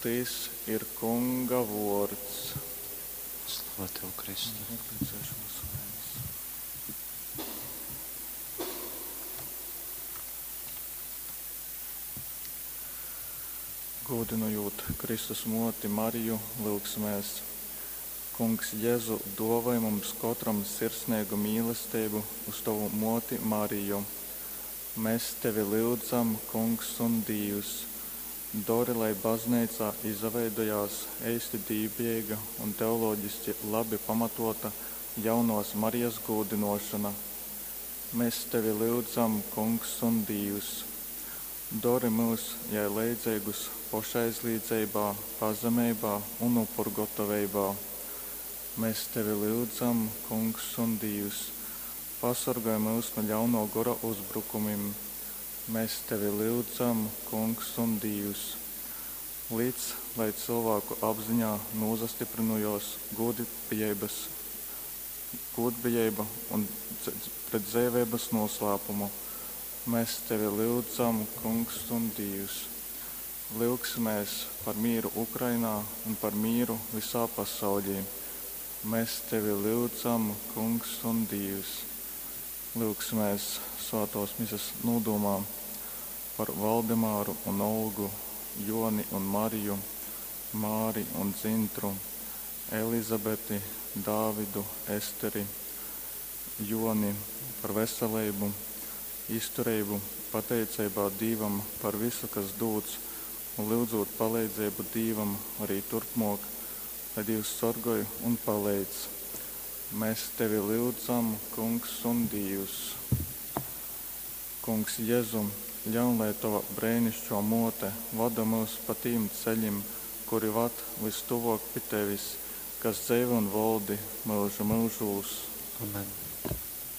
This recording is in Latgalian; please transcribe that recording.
Tys ir Kunga vuords. Slava tev, Kristu! Gūdynojūt Kristus muoti Mariju, lyugsimēs. Kungs Jezu, duovoj mums kotram sirsneigu mīlesteibu uz tovu muoti Mariju. Mes tevi lyudzam, Kungs un Dīvs! Dori, lai Bazneicā izaveidojās eisti dīvbijeiga un teologiski labi pamatōta jaunovas Marijas gūdynōšona. Mes tevi lyudzam, Kungs un Dīvs! Dori myus jai leidzeigus pošaizlīdzeibā, pazemeibā un upurgotoveibā. Mes tevi lyudzam, Kungs un Dīvs! Pasorgoj myus nu ļaunō gora uzbrukumim. Mes tevi lyudzam, Kungs un Dīvs! Lic, lai cylvāku apziņā nūsastyprynojōs gūdbijeibas, gūdbijeiba un pret dzeiveibas nūslāpumu. Mes tevi lyudzam, Kungs un Dīvs! Lyugsimēs par mīru Ukrainā un par mīru visā pasauļī. Mēs tevi lyudzam, Kungs un Dīvs! Lyugsimēs Svātōs Mises nūdūmā par Valdemāru un Olgu, Joni un Mariju, Māri un Dzintru, Elizabeti, Dāvidu, Esteri, Joni, par veseleibu, iztureibu, pateiceibā Dīvam par visu, kas dūts, un lyudzūt paleidzeibu Dīvam arī turpmōk, lai Dīvs sorgoj un paleidz. Mēs tevi lyudzam, Kungs un Dīvs. Kungs Jezu, ļaun, lai tova breinišķo mōte voda myus pa tīm ceļim, kuri vad vystuvōk pi tevis, kas dzeivoj un voldi myužu myužūs. Amen.